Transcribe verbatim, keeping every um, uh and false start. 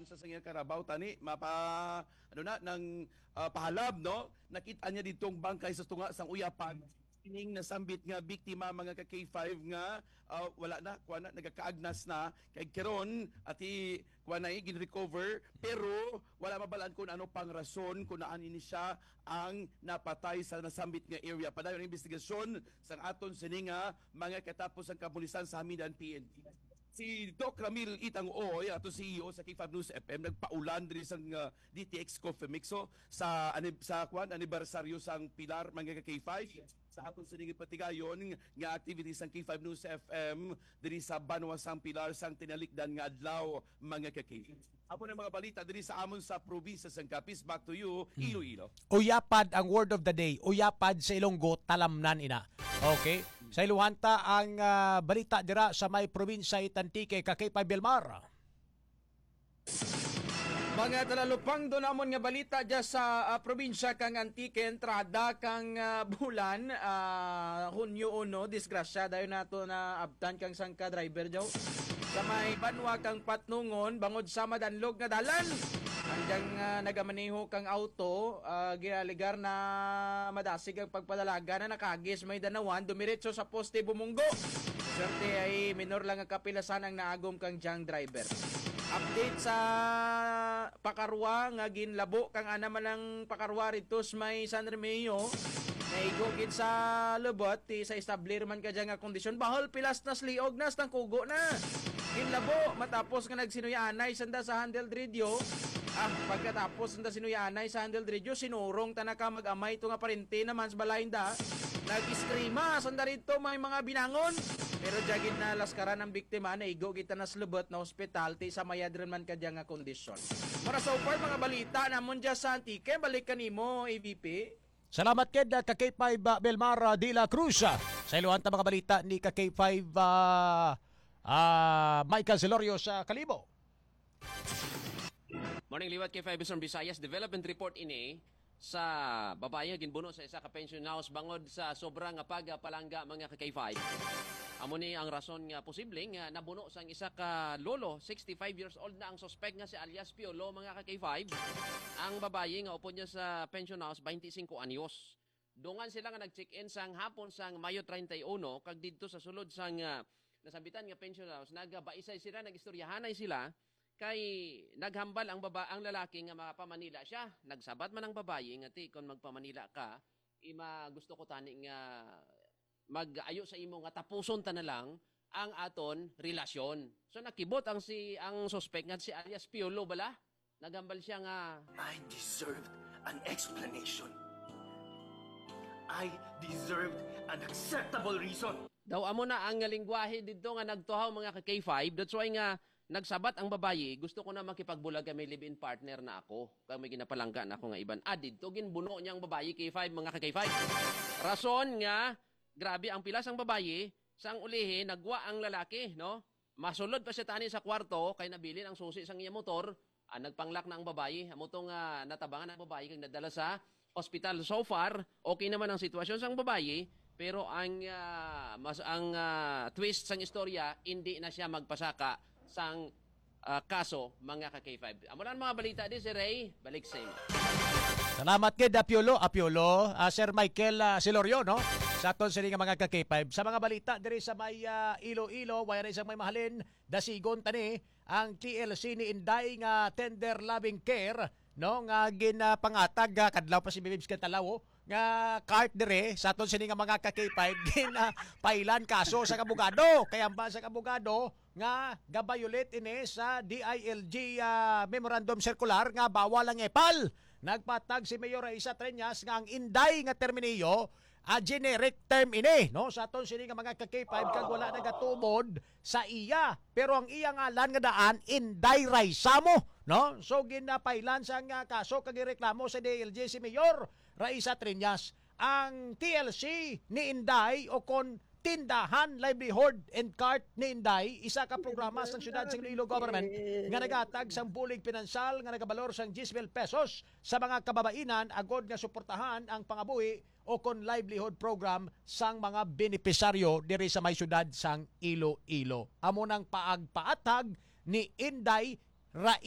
Sa sangya karabaw tani mapa ano na nang ah, pahalab, no? Nakita niya didtong bangkay sa tunga sang uyapan. Kining nasambit nga biktima, mga ka K five, nga ah, wala na, kuha na, nagakaagnas na. Kay karon, ati, kuha na, eh, gin-recover, pero wala mabalaan kung ano pang rason kung naan ini siya ang napatay sa nasambit nga area. Padayon ang investigasyon sang aton sini nga mga katapos ang kapulisan sa Hamidan P N P. Si Doc Ramil Itang Uy, ato C E O sa K five News F M, nagpaulan diri sang ah, D T X Coffee Mix, so, sa anib- sa kwan, anibersaryo sang Pilar, mga ka K five, sa aton sining patigayon nga activities sang K five News F M diri sa Banwa sang Pilar sang tinalikdan nga adlaw, mga ka K five. Amo na mga balita diri sa amon sa probinsya sang Capiz. Back to you, Iloilo. Uyapad ang word of the day. Uyapad sa Ilonggo, talamnan ina. Okay? Sa iluhanta ang ah, balita dira sa may probinsya it Antique, ka K five Belmar. Mga talalupang, do namon nga balita dya sa ah, probinsya kang Antique, entrada kang ah, bulan, ah, Hunyo uno, disgrasya dayon nato na abtan kang sangka driver daw. Sa may banwa kang Patnongon, bangod sa madanlog nga dalan, ang diyang ah, nagamaneho kang auto, ah, gialigar na madasig ang pagpadalaga na nakagis may danawan, dumiretso sa poste bumunggo. Swerte ay minor lang ang kapilasan ang naagom kang diyang driver. Update sa pakarwa nga ginlabo kang ana man ang pakarwa rito sa may San Remigio. Naigo gid sa lubot ti sa establir man ka dyan nga kondisyon. Bahol pilas nas liog nas tangkugo na. Ginlabo matapos nga nagsinuyanay sanda sa handle radio. Ah, pagkatapos sanda sinuyanay sa handle radio, sinurong ta na ka mag-amay to nga parente naman sa balay nda. Nag-iskrima sanda rito may mga binangon. Pero dya gid na laskaran ang biktima, naigo gid ta na sa lubot na ospital ti sa mayad rin man kadya nga kondisyon. Mura so far mga balita namon dya sa Antique, balik kanimo A V P. Salamat kid ah, ka K five ah, Belmar ah, de la Cruz. Ah, sa iluhan ta mga balita ni ka K five ah, ah, Michael Celorio sa Kalibo. Morning liwat K five Eastern Visayas. Development report ini sa babayi nga ginbuno sa isa ka pension house bangod sa sobra nga pagpalangga, mga ka K five. Amo ni ang rason nga posible nga nabuno sang isa ka lolo, sixty-five years old na ang suspek nga si alias Piolo, mga ka K five. Ang babayi nga upod niya sa pension house, twenty-five anyos. Dungan sila nga nag-check-in sang hapon sang Mayo treinta y uno, kag didto sa sulod sang ah, nasambitan nga pension house, nagabaisay sila, nag-istoryahanay sila, kay naghambal ang baba ang lalaki nga makapamanila siya. Nagsabat man ang babayi nga, "Ti, kon magpamanila ka, ima gusto ko tani nga mag-ayo sa imo nga tapuson ta na lang ang aton relasyon." So nakibot ang si ang suspek nga si alias Piolo bala. Naghambal siya nga, "I deserved an explanation. I deserved an acceptable reason." Daw amo na ang lingwahe didto nga nagtuhaw, mga ka K five. That's why nga nagsabat ang babayi, "Gusto ko na makipagbulag kay may live-in partner na ako, kag may ginapalangga na ako nga iban." Ah, didto ginbuno niya ang babayi, K five, mga ka K five. Rason nga grabe ang pilas ang babayi, sang ulihi nagwa ang lalaki, no? Masulod pa siya tani sa kwarto kay nabilin ang susi sang iya motor. Ah, nagpanglak na ang babayi. Amo to nga natabangan ang babayi kag nadala sa ospital. So far, okay naman ang sitwasyon sang babayi, pero ang ah, mas ang ah, twist sang istorya, hindi na siya magpasaka sang ah, kaso, mga ka K five. Amo lang mga balita di si Ray, balik sa imo. Salamat kay Apiolo, Apiolo, ah, Sir Michael ah, Silorio, no? Sa aton sini nga mga ka K five. Sa mga balita diri sa may ah, Iloilo, wala na isang may mahalin, dasigon tani ang T L C ni Inday nga tender loving care, no, nga ginapangatag ah, kadlaw pa si Bibibs Cantalawo nga cart dire sa aton sini nga mga ka K five gin ah, pailan kaso sa abogado, kay ang ba sa abogado nga ga-violate ini sa D I L G ah, memorandum circular nga bawal ang epal. Nagpatag si Mayor Raisa Treñas nga ang Inday nga terminiyo a generic term ini, no, sa aton sini nga mga ka K five kag wala nagatuod sa iya, pero ang iya ngalan nga daan Inday Raisamo, no? So ginapailan sa nga kaso kag reklamo sa D I L G si Mayor Raisa Treñas. Ang T L C ni Inday o kon Tindahan Livelihood and Cart ni Inday, isa ka programa sang Siyudad sang Iloilo Government nga nagahatag sang bulig pinansyal nga nagabalor sang diyes mil pesos sa mga kababainan agod nga suportahan ang pangabuhi o kon livelihood program sang mga benepisaryo diri sa may siyudad sang Iloilo. Amo nang paagpaathag ni Inday Rai